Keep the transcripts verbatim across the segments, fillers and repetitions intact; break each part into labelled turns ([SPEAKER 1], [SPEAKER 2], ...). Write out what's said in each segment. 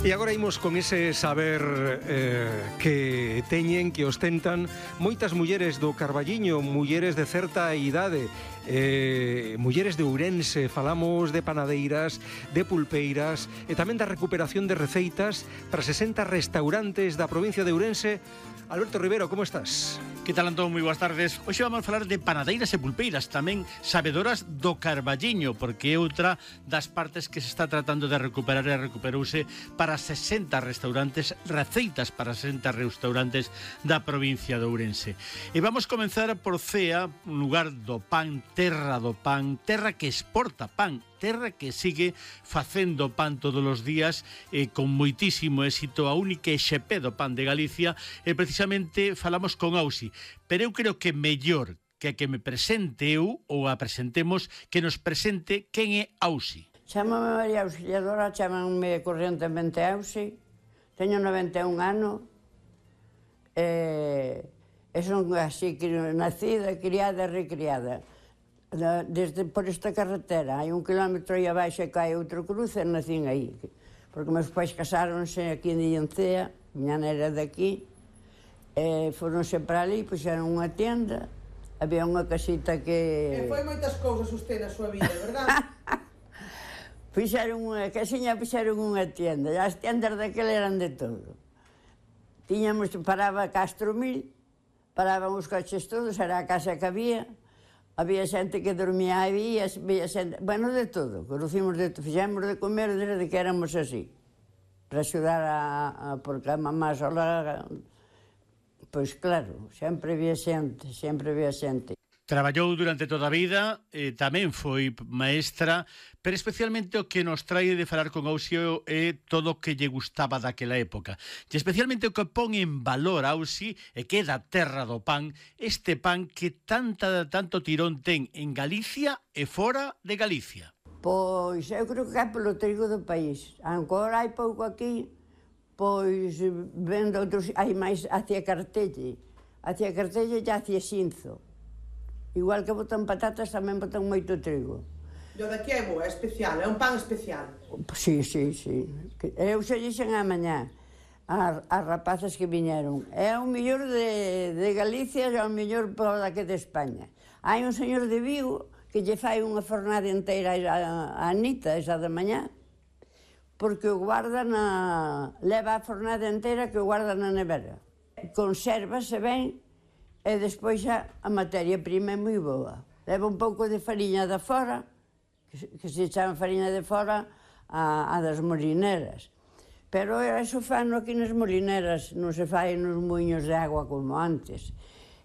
[SPEAKER 1] E agora imos con ese saber eh, que teñen, que ostentan moitas mulleres do Carballiño, mulleres de certa idade, eh, mulleres de Ourense. Falamos de panadeiras, de pulpeiras e tamén da recuperación de receitas para sesenta restaurantes da provincia de Ourense. Alberto Rivero, como estás?
[SPEAKER 2] Que tal, Antón? Moi boas tardes. Hoxe vamos a falar de panadeiras e pulpeiras, tamén sabedoras do Carballiño, porque é outra das partes que se está tratando de recuperar e recuperouse para sesenta restaurantes, receitas para sesenta restaurantes da provincia de Ourense. E vamos comenzar por Cea, un lugar do pan, terra do pan, terra que exporta pan, terra que sigue facendo pan todos os días eh, con moitísimo éxito, a única X P do pan de Galicia, e precisamente falamos con Ausi. Pero eu creo que mellor que que me presente eu ou a presentemos, que nos presente quen é Ausi.
[SPEAKER 3] Chámame María Auxiliadora, chámanme corrientemente Ausi, teño noventa e un anos, e, e son así nacida, criada e recriada. Desde por esta carretera, hai un kilómetro e abaixo e cae outro cruce, e nacín aí. Porque meus pais casáronse aquí en Dillancea, miña nera de aquí, e foronse para ali, puxeron unha tienda, había unha casita que...
[SPEAKER 4] E foi moitas cousas usted na súa vida, verdad?
[SPEAKER 3] Fixeron unha casiña, fixeron unha tienda, e as tiendas daquela eran de todo. Tiñamos, paraba Castro Mil, paraban os coches todos, era a casa que había, había xente que dormía aí, había xente... Bueno, de todo, conocimos de todo, fixemos de comer desde que éramos así, para axudar a... a porque a mamá sola... Pois claro, sempre había xente, sempre había xente.
[SPEAKER 2] Traballou durante toda a vida, eh, tamén foi maestra, pero especialmente o que nos trae de falar con Ausi é todo o que lle gustaba daquela época. E especialmente o que pon en valor Ausi e que é da terra do pan, este pan que tanta, tanto tirón ten en Galicia e fora de Galicia.
[SPEAKER 3] Pois eu creo que é polo trigo do país. Agora hai pouco aquí, pois vendo outros, hai máis hacia Cartelle. Hacia Cartelle e hacia Xinzo. Igual que botan patatas, tamén botan moito trigo.
[SPEAKER 4] E o daqui é bo, é especial, é un pan especial.
[SPEAKER 3] Sí, sí, sí. Eu xe dixen a mañá as, as rapazas que viñeron. É o mellor de, de Galicia e o mellor por daqui de España. Hai un señor de Vigo que lle fai unha fornada inteira a, a Anita, esa de mañá, porque o guarda na... leva a fornada inteira que o guarda na nevera. Consérvase ben e despois xa a materia prima é moi boa. Leva un pouco de fariña de fora, que, que se chama fariña de fora a, a das molineras. Pero eso fano aquí nas molineras, non se fai nos muiños de agua como antes.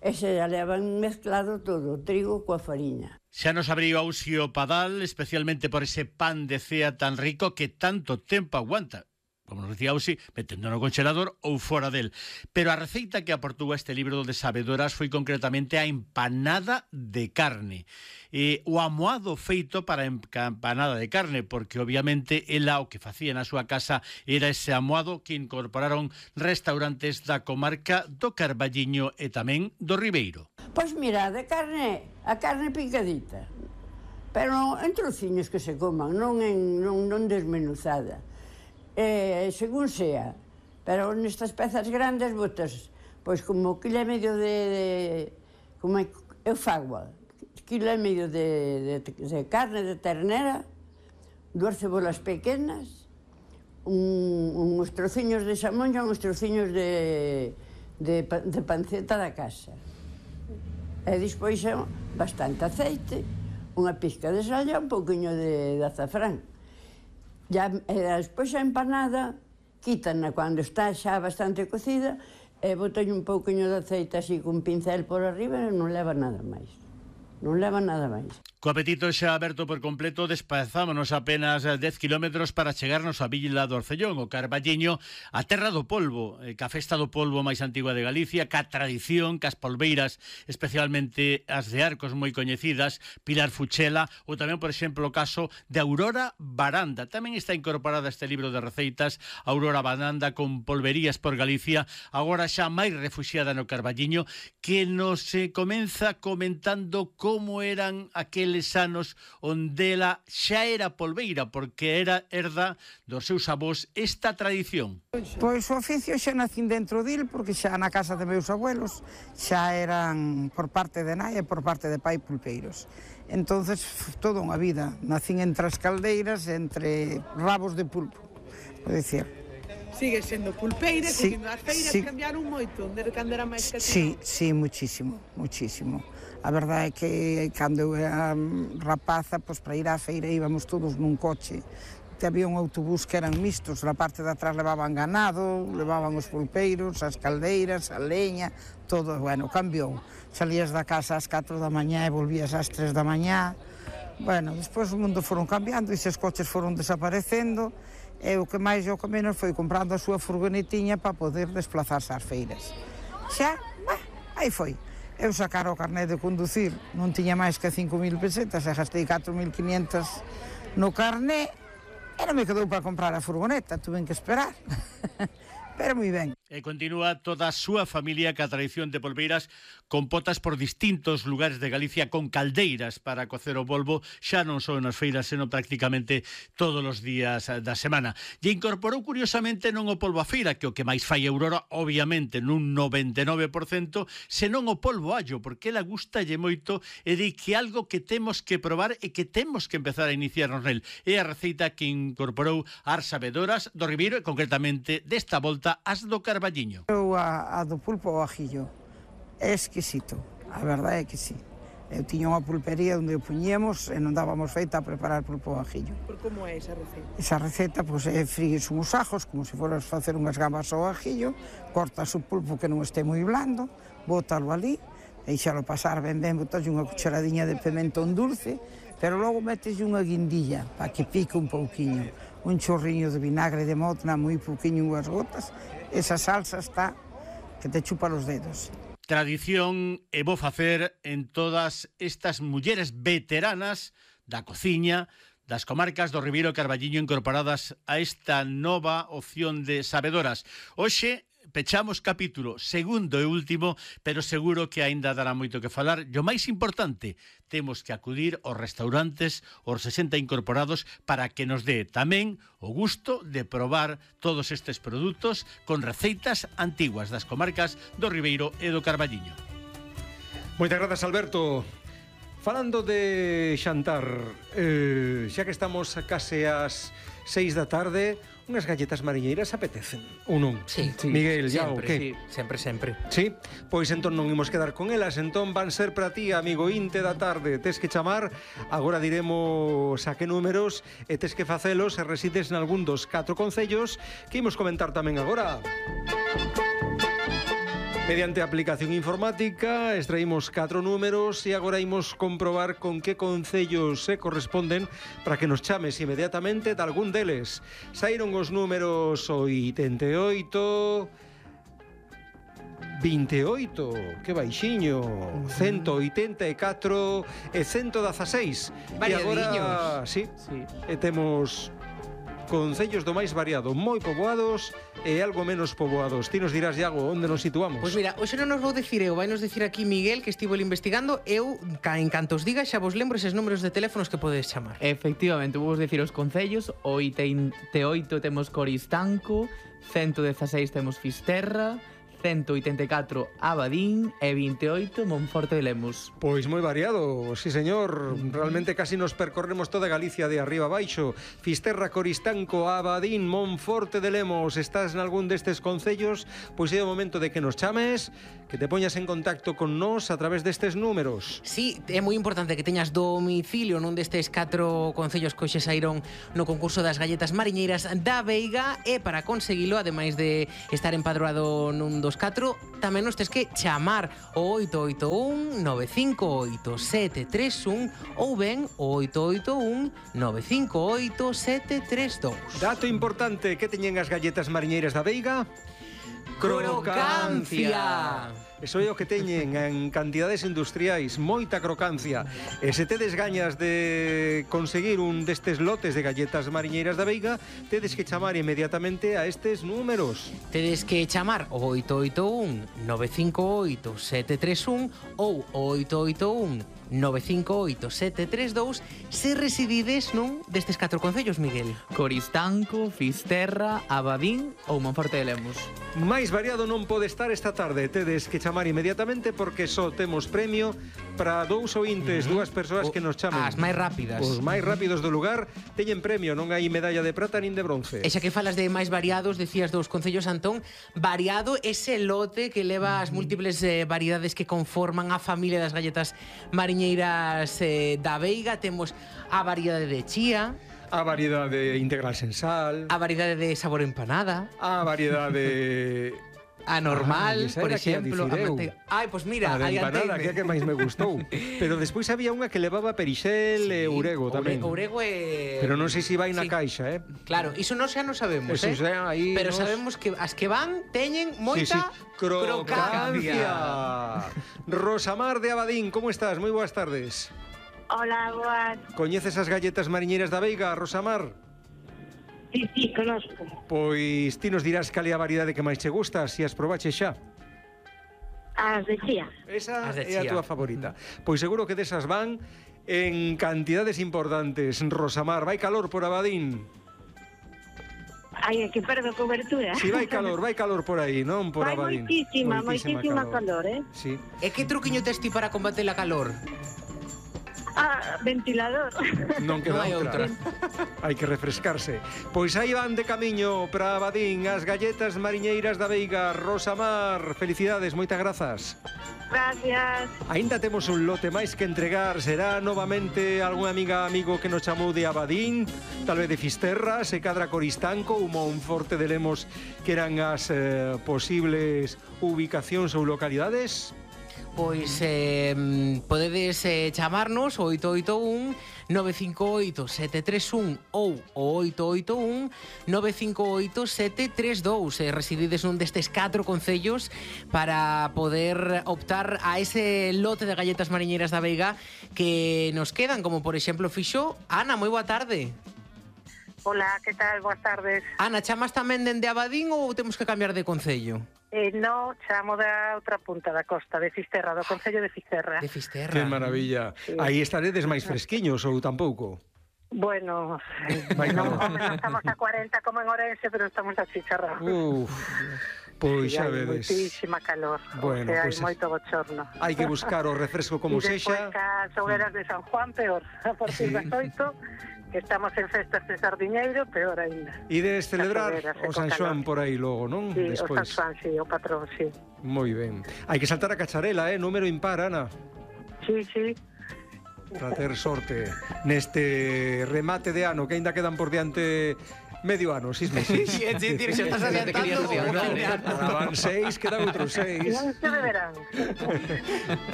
[SPEAKER 3] E se levan mezclado todo, o trigo coa fariña.
[SPEAKER 2] Xa nos abriu Ausi o padal, especialmente por ese pan de Cea tan rico que tanto tempo aguanta, como nos decía Ausi, metendo no congelador ou fora del. Pero a receita que aportou a este libro de sabedoras foi concretamente a empanada de carne. E o amoado feito para a empanada de carne, porque obviamente ela o que facía na súa casa era ese amoado que incorporaron restaurantes da comarca do Carballiño e tamén do Ribeiro.
[SPEAKER 3] Pois mira, de carne, a carne picadita, pero en trociños que se coman, non, en, non, non desmenuzada. Eh, según sea, pero nestas pezas grandes botas, pois como quilo e medio de, de como eu fago, quilo e medio de, de, de carne de ternera, dúas cebolas pequenas, un, uns trociños de xamón e uns trociños de, de, de panceta da casa. E despois bastante aceite, unha pizca de sal e un pouquiño de, de azafrán. Ya, e despois a empanada, quítana cando está xa bastante cocida e botan un pouquinho de aceite así cun pincel por arriba e non leva nada máis. Non leva nada máis.
[SPEAKER 2] Co apetito xa aberto por completo, desplazámonos apenas dez kilómetros para chegarnos a Villa do Orcellón, o Carballiño, a terra do polvo, ca festa do polvo máis antigua de Galicia, ca tradición, cas polveiras, especialmente as de Arcos moi coñecidas, Pilar Fuchela, ou tamén, por exemplo, o caso de Aurora Baranda. Tamén está incorporada a este libro de receitas, Aurora Baranda, con polverías por Galicia, agora xa máis refuxiada no Carballiño, que nos eh, comeza comentando como eran aqueles naqueles anos onde ela xa era polbeira, porque era herda dos seus avós esta tradición.
[SPEAKER 5] Pois o oficio xa nacín dentro dil, porque xa na casa de meus abuelos xa eran por parte de nai e por parte de pai pulpeiros. Entonces, toda unha vida, nacín entre as caldeiras, entre rabos de pulpo, por dicir.
[SPEAKER 4] Sigue sendo pulpeira,
[SPEAKER 5] Sí,
[SPEAKER 4] que as feiras
[SPEAKER 5] sí.
[SPEAKER 4] cambiaron moito, desde cando era máis catino.
[SPEAKER 5] Sí, sí, muchísimo, muchísimo. A verdade é que cando eu era rapaza, pois para ir á feira íbamos todos nun coche. Había un autobús que eran mistos, na parte de atrás levaban ganado, levaban os pulpeiros, as caldeiras, a leña, todo, bueno, cambiou. Salías da casa ás catro da mañá e volvías ás tres da mañá. Bueno, despois o mundo foron cambiando e os coches foron desaparecendo. E o que máis e o que menos foi comprando a súa furgonetiña para poder desplazarse ás feiras. Xa, bah, aí foi. Eu sacara o carné de conducir, non tiña máis que cinco mil pesetas e gastei catro mil quinientas no carné e non me quedou para comprar a furgoneta, tuve que esperar. Pero moi ben.
[SPEAKER 2] E continúa toda a súa familia ca tradición de polbeiras con potas por distintos lugares de Galicia con caldeiras para cocer o polvo, xa non só nas feiras, senón prácticamente todos os días da semana. E incorporou curiosamente non o polvo a feira, que o que máis fai Aurora, obviamente, nun noventa e nove por cento, senón o polvo allo, porque ela gustalle moito e di que algo que temos que probar e que temos que empezar a iniciarnos nel. É a receita que incorporou as sabedoras do Ribeiro e concretamente desta volta as do Carballiño.
[SPEAKER 5] Eu a, a do pulpo ao ajillo é exquisito, a verdade é que sí. Eu tiña unha pulpería onde o puñemos e non dábamos feita a preparar pulpo ao ajillo.
[SPEAKER 4] Por como é esa receita?
[SPEAKER 5] Esa receta, pois, é frigues uns ajos, como se foras facer unhas gambas ao ajillo, cortas o pulpo que non este moi blando, bótalo ali, deixalo pasar ben ben, botas unha cucharadinha de pimentón dulce, pero logo metes unha guindilla para que pique un pouquiño, un chorriño de vinagre de motna, moi pouquiño, unhas gotas. Esa salsa está que te chupa los dedos.
[SPEAKER 2] Tradición e bo facer en todas estas mulleres veteranas da cociña das comarcas do Ribeiro e Carballiño incorporadas a esta nova opción de sabedoras. Hoxe pechamos capítulo segundo e último, pero seguro que aínda dará moito que falar. E o máis importante, temos que acudir aos restaurantes, aos sesenta incorporados, para que nos dé tamén o gusto de probar todos estes produtos con receitas antiguas das comarcas do Ribeiro e do Carballiño.
[SPEAKER 1] Moitas grazas, Alberto. Falando de xantar, eh, xa que estamos a case ás seis da tarde, unhas galletas mariñeiras apetecen, ou non?
[SPEAKER 6] Sí, sí,
[SPEAKER 1] Miguel, ya, o
[SPEAKER 6] sempre,
[SPEAKER 1] que?
[SPEAKER 6] sí, sempre, sempre.
[SPEAKER 1] Sí, pois entón non imos quedar con elas, entón van ser para ti, amigo inte da tarde. Tes que chamar, agora diremos a que números e tes que facelos se resides en algún dos catro concellos que imos comentar tamén agora. Mediante aplicación informática extraímos catro números e agora imos comprobar con que concellos se corresponden para que nos chames inmediatamente de algún deles. Saíron os números oitenta e oito, vinte e oito, que baixiño, ciento oitenta e catro e ciento dezaseis. E agora, sí,
[SPEAKER 6] Sí.
[SPEAKER 1] e temos concellos do máis variado, moi poboados e algo menos poboados. Ti nos dirás, Iago, onde nos situamos?
[SPEAKER 6] Pois mira, hoxe non nos vou dicir eu, vai nos dicir aquí Miguel, que estivo investigando. Eu, ca, en canto os diga, xa vos lembro eses números de teléfonos que podedes chamar.
[SPEAKER 7] Efectivamente, vou vos decir os concellos. O oitenta e oito temos Coristanco, ciento dezaseis temos Fisterra, ciento oitenta e catro Abadín e vinte e oito Monforte de Lemos.
[SPEAKER 1] Pois moi variado, sí señor. Realmente casi nos percorremos toda Galicia de arriba a baixo. Fisterra, Coristanco, Abadín, Monforte de Lemos. Estás en algún destes concellos? Pois é o momento de que nos chames, que te poñas en contacto con nós a través destes números.
[SPEAKER 6] Sí, é moi importante que teñas domicilio nun destes catro concellos que hoxe saíron no concurso das galletas mariñeiras da Veiga, e para conseguilo, ademais de estar empadroado nun dos catro, tamén nos tes que chamar o oito oito un nove cinco oito sete tres un ou ben o oito oito un nove cinco oito sete tres dous.
[SPEAKER 1] Dato importante, que teñen as galletas mariñeiras da Veiga?
[SPEAKER 6] Crocancia.
[SPEAKER 1] Eso é o que teñen en cantidades industriais, moita crocancia. E se tedes gañas de conseguir un destes lotes de galletas mariñeiras da Veiga, tedes que chamar inmediatamente a estes números.
[SPEAKER 6] Tedes que chamar o oito oito un nove cinco oito sete tres un ou o oito oito un nove cinco oito sete tres dous se residides nun destes catro concellos, Miguel.
[SPEAKER 7] Coristanco, Fisterra, Abadín ou Monforte de Lemos.
[SPEAKER 1] Máis variado non pode estar esta tarde. Tedes que chamar inmediatamente porque só temos premio para dous ointes, uh -huh. dúas persoas
[SPEAKER 6] o,
[SPEAKER 1] que nos chamen.
[SPEAKER 6] As máis rápidas.
[SPEAKER 1] Os máis rápidos do lugar teñen premio, non hai medalla de prata nin de bronce.
[SPEAKER 6] E xa que falas de máis variados, decías dos concellos, Antón, variado ese lote que leva as múltiples eh, variedades que conforman a familia das galletas mariñeiras eh, da Veiga. Temos a variedade de chía,
[SPEAKER 1] a variedade integral sen sal,
[SPEAKER 6] a variedade de sabor empanada,
[SPEAKER 1] a variedade
[SPEAKER 6] a normal,
[SPEAKER 1] ah,
[SPEAKER 6] por exemplo, a manteiga. Ai, pois pues mira,
[SPEAKER 1] a de empanada, que é a que máis me gustou. Pero despois había unha que levaba perixel sí, e urego tamén.
[SPEAKER 6] Orego e...
[SPEAKER 1] Pero non sei se vai na
[SPEAKER 6] sí.
[SPEAKER 1] caixa, eh?
[SPEAKER 6] Claro, iso non xa non sabemos,
[SPEAKER 1] eso
[SPEAKER 6] eh?
[SPEAKER 1] Xa aí
[SPEAKER 6] pero
[SPEAKER 1] nos...
[SPEAKER 6] sabemos que as que van teñen moita
[SPEAKER 1] sí, sí. crocancia. Rosamar de Abadín, como estás? Moi boas tardes.
[SPEAKER 8] Hola, boas.
[SPEAKER 1] Coñeces as galletas mariñeiras da Veiga, Rosamar?
[SPEAKER 8] Sí, sí, conozco.
[SPEAKER 1] Pois ti nos dirás cal é a variedade que máis che gusta, se as probaches xa.
[SPEAKER 8] As de chía.
[SPEAKER 1] Esa
[SPEAKER 6] de
[SPEAKER 1] é a
[SPEAKER 6] chía.
[SPEAKER 1] túa favorita. Pois seguro que desas van en cantidades importantes. Rosamar, vai calor por Abadín?
[SPEAKER 8] Ai, que perdo cobertura.
[SPEAKER 1] Si, vai calor, vai calor por aí, non por
[SPEAKER 8] vai
[SPEAKER 1] Abadín.
[SPEAKER 8] moitísima, moitísima calor, eh?
[SPEAKER 1] Sí.
[SPEAKER 6] E que truquiño tes ti para combater a calor?
[SPEAKER 8] Ah, ventilador.
[SPEAKER 1] Non queda
[SPEAKER 6] Non hai
[SPEAKER 1] outra. Hai que refrescarse. Pois aí van de camiño para Abadín as galletas mariñeiras da Veiga. Rosamar, felicidades, moitas grazas.
[SPEAKER 8] Gracias.
[SPEAKER 1] Aínda temos un lote máis que entregar. Será novamente algún amiga amigo que nos chamou de Abadín, tal vez de Fisterra, se cadra Coristanco ou Monforte de Lemos, que eran as eh, posibles ubicacións ou localidades.
[SPEAKER 6] Pois eh, podedes eh, chamarnos o oito oito un nove cinco oito sete tres un ou o oito oito un nove cinco oito sete tres dous. Eh, residides nun destes catro concellos para poder optar a ese lote de galletas mariñeiras da Veiga que nos quedan, como por exemplo fixo Ana. Moi boa tarde.
[SPEAKER 8] Hola, que tal? Boas tardes.
[SPEAKER 6] Ana, chamas tamén dende Abadín ou temos que cambiar de concello?
[SPEAKER 8] Eh, no, chamo da outra punta da costa, de Fisterra, do concello de Fisterra.
[SPEAKER 6] De Fisterra.
[SPEAKER 1] Que maravilla. Sí. Aí estaredes máis fresquiños ou tampouco?
[SPEAKER 8] Bueno, non, home, non estamos a cuarenta como en Orense, pero estamos a chicharrar.
[SPEAKER 1] Uf, pois
[SPEAKER 8] sí,
[SPEAKER 1] xa
[SPEAKER 8] hai
[SPEAKER 1] vedes.
[SPEAKER 8] moitísima calor,
[SPEAKER 1] Bueno,
[SPEAKER 8] o sea,
[SPEAKER 1] pois
[SPEAKER 8] hai moito bochorno.
[SPEAKER 1] Hai que buscar o refresco como
[SPEAKER 8] e
[SPEAKER 1] sexa.
[SPEAKER 8] E despois cas hogueras de San Juan, peor. A partir das oito, que estamos en festas de Sardiñeiro, peor ainda.
[SPEAKER 1] Ides celebrar
[SPEAKER 8] hogueras,
[SPEAKER 1] o San Xoán por aí logo, non?
[SPEAKER 8] Sí,
[SPEAKER 1] despois.
[SPEAKER 8] o San Xoán, sí, o patrón, sí.
[SPEAKER 1] Moi ben. Hai que saltar a cacharela, eh? Número impar, Ana.
[SPEAKER 8] Sí, sí.
[SPEAKER 1] Para ter sorte neste remate de ano, que aínda quedan por diante medio ano, seis meses.
[SPEAKER 6] Sí, sí, sí, xa estás adiantando.
[SPEAKER 1] Van seis, quedan outros seis.
[SPEAKER 8] Non se beberán.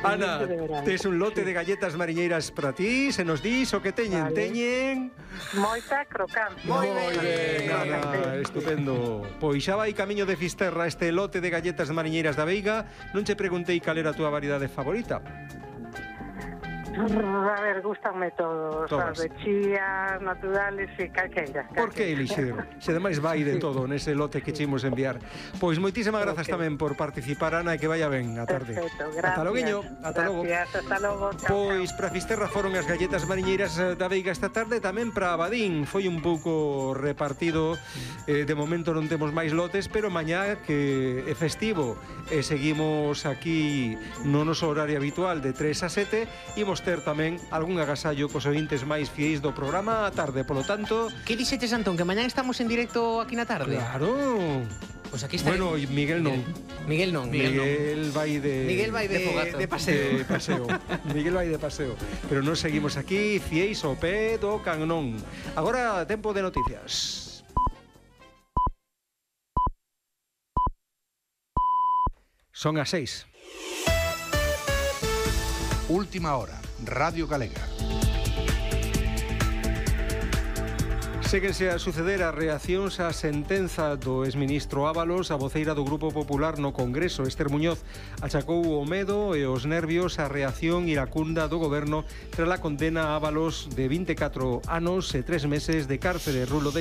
[SPEAKER 1] Ana, tes un lote de galletas mariñeiras para ti, se nos dis o que teñen.
[SPEAKER 8] Vale.
[SPEAKER 1] Teñen...
[SPEAKER 8] Moita crocancia.
[SPEAKER 1] Moi ben, Ana, estupendo. Pois xa vai camiño de Fisterra este lote de galletas mariñeiras da Veiga. Non che preguntei cal era a túa variedade favorita.
[SPEAKER 8] A ver, gustanme todos,
[SPEAKER 1] Todas.
[SPEAKER 8] as de chía, naturales e calqueira.
[SPEAKER 1] Por que elixir? Se demais vai de todo nese lote que chimos enviar. Pois moitísimas grazas
[SPEAKER 8] Ok.
[SPEAKER 1] tamén por participar, Ana, e que vaya ben a tarde.
[SPEAKER 8] Perfecto, gracias.
[SPEAKER 1] Ata loguiño, ata logo.
[SPEAKER 8] Gracias, ata logo. Chao,
[SPEAKER 1] Pois para Fisterra foron as galletas mariñeiras eh, da Veiga esta tarde, tamén para Abadín foi un pouco repartido. Eh, de momento non temos máis lotes, pero mañá que é festivo e seguimos aquí no noso horario habitual de tres a sete, imos ter tamén algún agasallo cos ointes máis fieis do programa á tarde, polo tanto...
[SPEAKER 6] Que dixetes, Antón, que mañán estamos en directo aquí na tarde?
[SPEAKER 1] Claro.
[SPEAKER 6] Pois aquí está.
[SPEAKER 1] Bueno, e Miguel non.
[SPEAKER 6] Miguel non.
[SPEAKER 1] Miguel vai de...
[SPEAKER 6] Miguel vai de,
[SPEAKER 7] de fogazo.
[SPEAKER 6] de paseo.
[SPEAKER 1] de paseo. Miguel vai de paseo. Pero nos seguimos aquí, fieis ao pé do canón. Agora, tempo de noticias. Son as seis.
[SPEAKER 9] Última hora, Radio Galega.
[SPEAKER 1] Séguense a suceder as reaccións á sentenza do exministro Ábalos. A voceira do Grupo Popular no Congreso, Ester Muñoz, achacou o medo e os nervios á reacción iracunda do goberno tras a condena a Ábalos de vinte e catro anos e tres meses de cárcere. Rulo de